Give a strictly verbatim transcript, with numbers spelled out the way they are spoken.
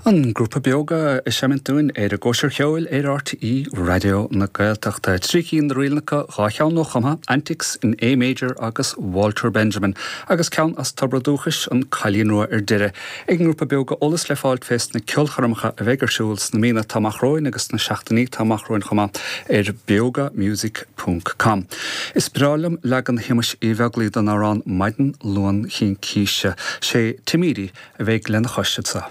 An grúpa Beoga ag seimint dúinn ar an gCóisir Cheoil ar R T É Raidió na Gaeltachta. Trí cinn de ríleanna, dhá cheann nuachumtha, Antics in A Major agus Walter Benjamin, agus ceann as Tobar Dúchais, An Cailín Rua ar deireadh. Ag an ngrúpa Beoga. Eolas le fáilt fés na ceolchoirmeacha a bheidh ar siúl sna míonna atá amach romhainn agus na seachtainí atá amach romhainn chomh maith ar beogamusic dot com. Is breá liom leagan Shéamuis Uí Bheaglaoich den amhrán Maidin Luain Chincíse. Sé Timírí a bheidh lena chois anseo.